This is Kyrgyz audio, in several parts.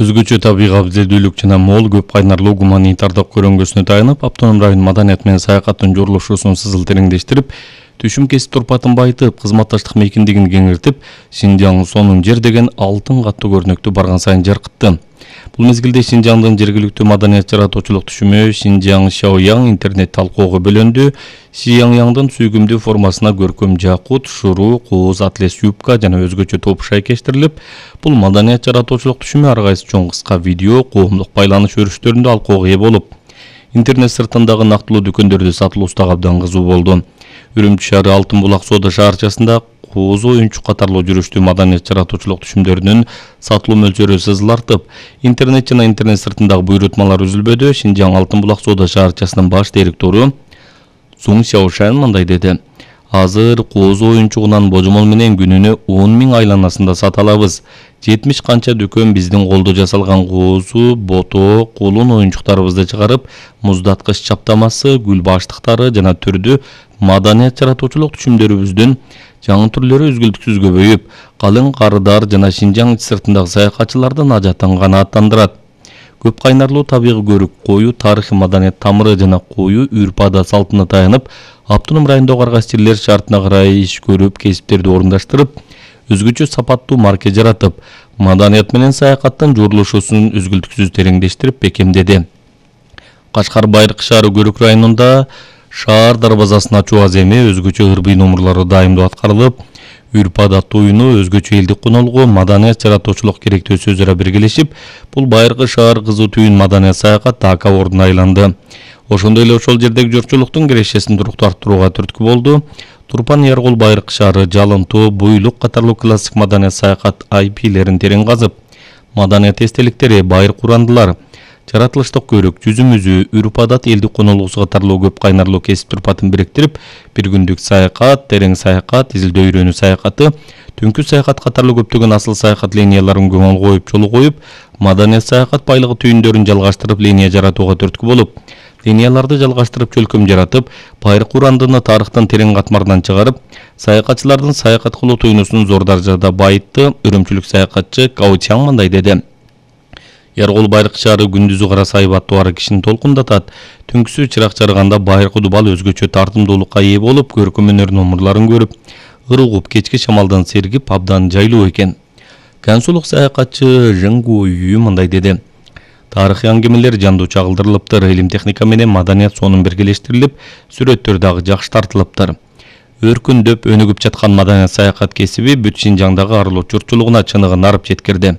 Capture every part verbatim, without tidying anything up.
Өзгөчө табигый абзелдүүлүк жана мол көп кайнарлуу гуманитардык көрөнгөсүнө таянып, автоном район маданият менен саякаттын журулушусун сызыл тереңдештирип, түшүм кесип турпатын байытып, кызматташтык мейкиндигин кеңиртип, Шинжаң сонун жер деген алтын каттуу көрнөктү барган сайын жаркытты. Бул мезгилде Шинжаңдын жергиликтүү маданият жаратуучулук түшүмү Шинжаң Шаояң интернет талкууга бөлөндү. Шияньяңдын сүйгүмдүү формасына көркөм жакут, шуруу, кооз, атлес юбка жана өзгөчө топ шайкештирилип, бул маданият жаратуучулук түшүмү ар кайсы чоң кыска видео, коомдук байланыш өрүштөрүндө алкууга ээ болуп, интернет сыртындагы нактылуу дүкөндөрдө сатылуусу абдан кызуу болду. Үрүмчү шаары Алтын булак соода шаарчасында кооз оюнчук катарлуу жүрүштүү маданият жаратуучулук түшүмдөрүнүн сатылуу мөлчөрү сызыл артып, интернет жана интернет сыртындагы буйрутмалар үзүлбөдү. Шинжаң Алтын булак соода шаарчасынын баш директору Цун Сяошан мындай деди: Азыр кооз оюнчугунан божомол менен күнүнө он миң айланасында сата алабыз. жетимиш канча дүкөн биздин колдо жасалган коозу, бото, кулун оюнчуктарыбызды чыгарып, муздаткыч чаптамасы, гүл баштыктары жана түрдүү маданият жаратуучулук түшүмдөрүбүздүн жаңы түрлөрү үзгүлтүксүз көбөйүп, калың карыдар жана Шинжаң сыртындагы саякатчылардын ажатын канааттандырат. Көп кайнарлуу табигый көрүк, коюу тарыхый маданият тамыры жана коюу үрп-ада салтына таянып, автоном райондогу ар кайсы жерлер шартына карай иш көрүп, кесиптерди орундаштырып, өзгөчө сапаттуу марке жаратып, маданият менен саякаттын журулушусун үзгүлтүксүз тереңдештирип бекемдеди. Кашкар Байыркы шаары Көрүк районунда шаар дарбазасын ачуу аземи өзгөчө ырбый номурлары дайымдуу аткарылып, үрп-адат оюну, өзгөчө элдик конолгу, маданият жаратуучулук керектөөсү өзү ара биргелешип, бул Байыркы шаар кызуу түйүн маданият саякат дака ордуна айланды. Ошондой эле ошол жердеги журтчулуктун кирешесин туруктуу арттырууга түрткү болду. Турпан Яргол Байыркы шаары, Жалынтоо, Буйлук катарлуу классик маданият саякат ай пилерин терең казып, маданият эстеликтери, байыркы урандылар, жаратылыштык көрүк, жүзүмүзү, үрп-адат, элдик конолуусу катарлуу көп кайнарлуу кесип турпатын бириктирип, бир күндүк саякат, терең саякат, изилдөө үйрөнүү саякаты, түнкү саякат катарлуу көптөгөн асыл саякат линияларын көңүл коюп, жол коюп, маданият саякат байлыгы түйүндөрүн жалгаштырып, линия жаратууга түрткү болуп, линияларды жалгаштырып чөлкөм жаратып, байыркы урандыны тарыхтын терең катмарынан чыгарып, саякатчылардын саякат кылуу туюнусун зор даражада байытты. Үрүмчүлүк саякатчы Као Чаң мындай деди: Яргол Байыркы шаары күндүзү караса айбаттуу ары кишини толкундатат. Түнкүсү чырак чарыганда байыркы дубал өзгөчө тартымдуулукка ээ болуп, көркөм өнөр номурларын көрүп, ыр угуп, кечки шамалдан сергип абдан жайлуу экен. Кансулук саякатчы Жыңгу Үй мындай деди: Тарыхый аңгемелер жандуу чагылдырылыптыр, илим техника менен маданият сонун биргелештирилип, сүрөттөр дагы жакшы тартылыптыр. Өркүндөп, өнүгүп жаткан маданият саякат кесиби бүт Шинжаңдагы арылуу журтчулугуна чыныгын арып жеткирди.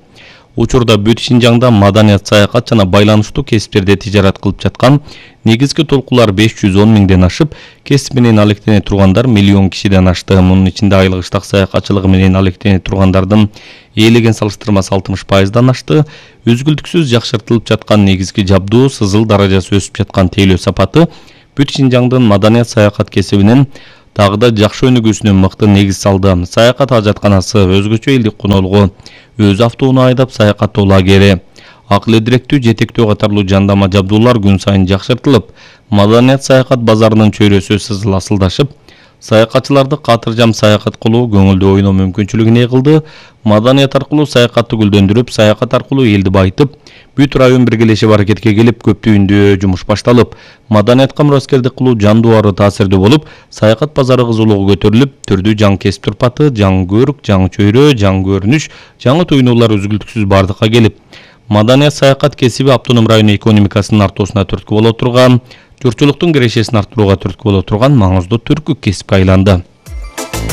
Учурда бүт Шинжаңда маданият саякат жана байланыштуу кесиптерде тижарат кылып жаткан негизги толкулар беш жүз он миңден ашып, кесип менен алектене тургандар миллион кишиден ашты. Мунун ичинде айлык иштак саякатчылыгы менен алектене тургандардын ээлеген салыштырмасы алтымыш пайыздан ашты. Өзгүлтүксүз жакшыртылып жаткан негизги жабдуу, сызыл даражасы өсүп жаткан тейлөө сапаты бүт Шинжаңдын маданият саякат кесибинин дагы да жакшы өнүгүүсүнө мыкты негиз салды. Саякат ажатканасы, өзгөчө элдик конолгу, өз автоунаа айдап саякаттоо лагери, акыл эдиректүү жетектөө катарлуу жандама жабдуулар күн сайын жакшыртылып, маданият саякат базарынын чөйрөсү сызыл асылдашып, саякатчыларды катыржам саякат кылуу, көңүлдүү ойноо мүмкүнчүлүгүн кылды. Маданият аркылуу саякатты гүлдөндүрүп, саякат аркылуу элди байытып, бүт район биргелешип аракетке келип, көп түйүндүү жумуш башталып, маданиятка мураскердик кылуу жандуу ары таасирдүү болуп, саякат базары кызуулугу көтөрүлүп, түрдүү жаңы кесип турпаты, жаңы көрүк, жаңы чөйрө, жаңы көрүнүш, жаңы туюунулар үзгүлтүксүз бардыкка келип, маданият саякат кесиби автоном район экономикасынын артуусуна түрткү боло турган, журтчулуктун кирешесин арттырууга түрткү боло турган маңыздуу түркү кесипке айланды.